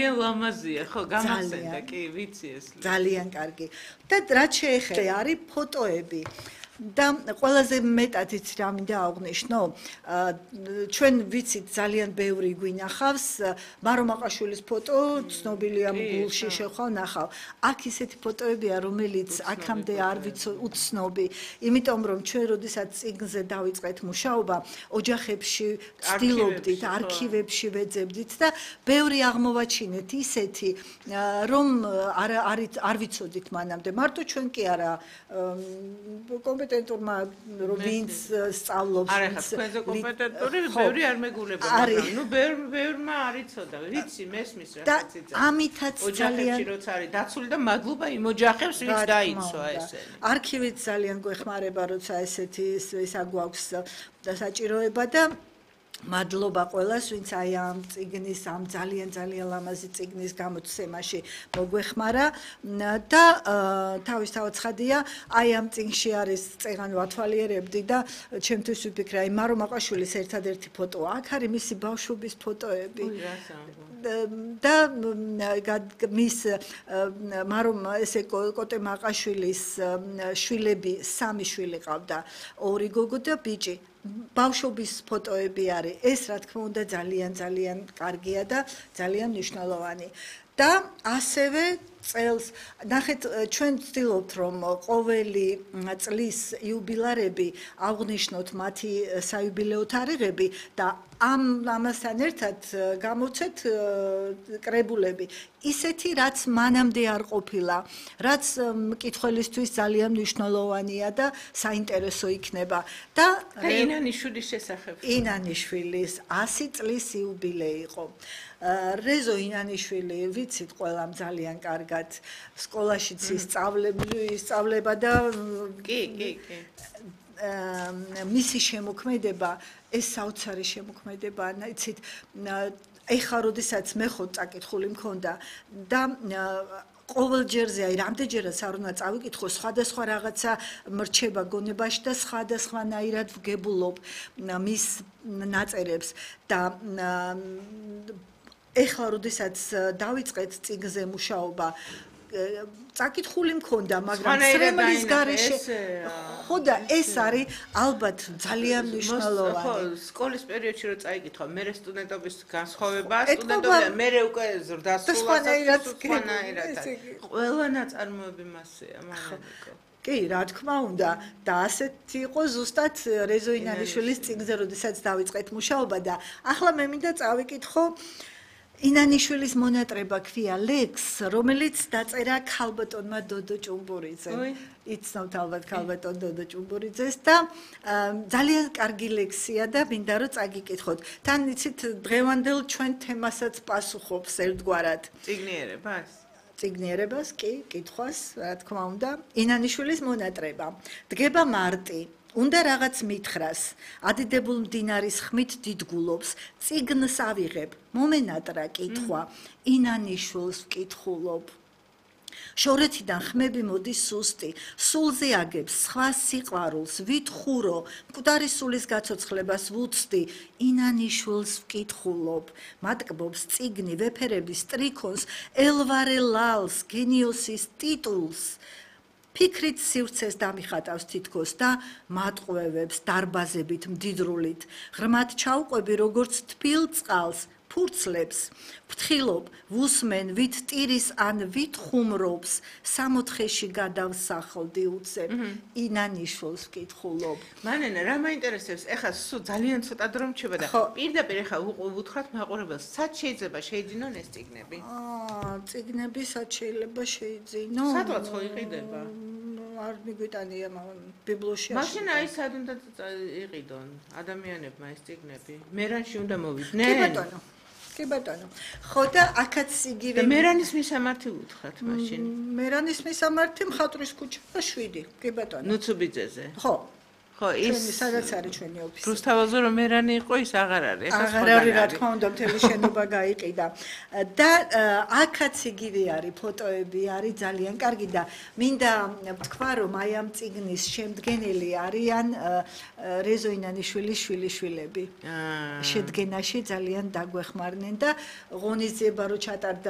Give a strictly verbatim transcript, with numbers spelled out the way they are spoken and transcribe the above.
ძალიან ლამაზია, ხო, გამახსენდა, კი, ვიცი ეს. ძალიან კარგი. და რაც შეეხება არის ფოტოები. და ყველაზე მეტად იცი რა მინდა აღვნიშნო, ჩვენ ვიცით ძალიან ბევრი გვინახავს, მარო მაყაშვილის ფოტო ცნობილია გულში შეხვალ ნახავ. აქ ისეთი ფოტოებია, რომელიც აქამდე არ ვიცოდი უცნობი, იმიტომ რომ ჩვენ როდესაც წიგნზე დავიწყეთ მუშაობა, ოჯახებში ვცდილობდით, არქივებში ვეძებდით და ბევრი აღმოვაჩინეთ ისეთი, რომ არ არ ვიცოდით მანამდე. მარტო ჩვენ კი არა კომპეტენტურმა ვინც სწავლობს არა ხა თქვენზე კომპეტენტური ბევრი არ მეგულება მაგრამ ნუ ბევრმა არ იცოდა ვიცი მესმის რაღაც იცი და ამითაც ძალიან როცა არის დაცული და მადლობა იმ ოჯახებს ვინც დაიცვა ესე არქივით ძალიან გვეხმარება როცა ესეთი ისა გვაქვს საჭიროება და მადლობა ყველას, ვინც აი ამ წიგნის, ამ ძალიან ძალიან ლამაზი წიგნის გამოცემაში მოგვეხმარა და თავისთავად ცხადია, აი ამ წიგნში არის წეგან ვათვალიერებდი და ჩემთვის ვიფიქრე, აი მარო მაყაშვილის ერთადერთი ფოტოა, აქ არის მისი ბავშვობის ფოტოები. და მის მარო ესე კოტე მაყაშვილის შვილები, სამი შვილი ყავდა, ორი გოგო და ბიჭი. ბავშვობის ფოტოები არის. ეს რა თქმა უნდა ძალიან ძალიან კარგია და ძალიან მნიშვნელოვანი. და ასევე წელს ნახეთ ჩვენ ვცდილობთ რომ ყოველი წლის იუბილარები აღვნიშნოთ მათი საიუბილეო თარიღები და ამ ამასთან ერთად გამოვცეთ კრებულები ისეთი რაც მანამდე არ ყოფილა რაც მკითხველისთვის ძალიან მნიშვნელოვანია და საინტერესო იქნება და ინანიშვილის შესახებ ინანიშვილის ასი წლის იუბილეი იყო რეზო ინანიშვილი ვიცით ყველამ ძალიან კარგად სკოლაშიც ისწავლება და კი კი კი მისი შემოქმედება ეს საოცარი შემოქმედებაა იცით ეხლა როდესაც მე ხო წაკითხული მქონდა და ყოველ ჯერზე აი რამდენჯერაც არ უნდა წავიკითხო სხვადასხვა რაღაცა მრჩება გონებაში და სხვადასხვანაირად ვგებულობ მის ნაწერებს და ეხლა როდესაც დავიწყეთ წიგნზე მუშაობა წაკითხული მქონდა მაგრამ სრემლის გარეშე ხო და ეს არის ალბათ ძალიან მნიშვნელოვანი ხო სკოლის პერიოდში რო წაიკითხა მე სტუდენტობის განსხვავება სტუდენტობიდან მე უკვე ზრდასრულად სხვანაირად ყველა ნაწარმოები მასეა მაგალითად კი, რა თქმა უნდა, და ასეთი იყო ზუსტად რეზო ინანიშვილის წიგნზე, როდესაც დავიწყეთ მუშაობა და ახლა მე მინდა წავიკითხო ინანიშვილის მონატრება ქვია ლექს, რომელიც დაწერა ქალბატონმა დოდო ჭუმბურიძემ. იცნობთ ალბათ ქალბატონ დოდო ჭუმბურიძეს და ძალიან კარგი ლექსია და მინდა რომ წაგიკითხოთ. თან იცით დღევანდელ ჩვენ თემასაც პასუხობს ერთგვარად. წიგნიერებას? წიგნიერებას, კი, კითხვას, რა თქმა უნდა. ინანიშვილის მონატრება. დგება მარტი. უნდა რაღაც მითხრას, ადიდებულ მდინარის ხმით დიდგულობს, წიგნს ავიღებ, მომენატრა კითხვა, ინანიშვილს ვკითხულობ. შორეთიდან ხმები მოდის სუსტი, სულზე აგებს სხვა სიყვარულს, ვითხურო, მკვდარი სულის გაცოცხლებას ვუცდი, ინანიშვილს ვკითხულობ. მატკბობს წიგნი, ვეფერების ტრიქონს, ელვარე ლალს, გენიოსის ტიტულს. ფიქრით სივრცეს დამიხატავს თითქოს და მატყვევებს დარბაზებით მდიდრულით. ღრმად ჩაუყვები როგორც თბილ წყალს, ფურცლებს, ვთხილობ, ვუსმენ, ვით ტირის ან ვით ხუმრობს, სამოთხეში გადავსახლდი უცებ, ინანიშვილს ვკითხულობ. მანენა, რა მაინტერესებს, ეხლა სულ ძალიან ცოტა დრო მრჩება და პირდაპირ ეხლა უთხრათ მაყურებელს, სად შეიძლება შეიძინონ ეს წიგნები? აა, წიგნები სად შეიძლება შეიძინონ? სადღაც ხო იყიდება? არ მიგვიტანია ბიბლიაში. მაშინ აი სად უნდა იყიდონ ადამიანებმა ეს წიგნები? მერანში უნდა მოვიდნენ? კი ბატონო. კი ბატონო. ხო და აქაც იგივე და მერანის მისამართი უთხრათ მაშინ. მერანის მისამართი მხატვრის ქუჩა შვიდი. კი ბატონო. ნუცუბიძეზე. ხო. ხო ის სადაც არის ჩვენი ოფისი. რუსთავაზე რომ მერანი იყო ის აღარ არის. აღარ არის რა თქმა უნდა მთელი შენობა გაიყიდა. და აქაც იგივე არის ფოტოები არის ძალიან კარგი და მინდა ვთქვა რომ აი ამ წიგნის შემდგენელი არიან რეზო ინანიშვილის შვილიშვილები. შედგენაში ძალიან დაგვეხმარნენ და ღონისძიება რო ჩატარდა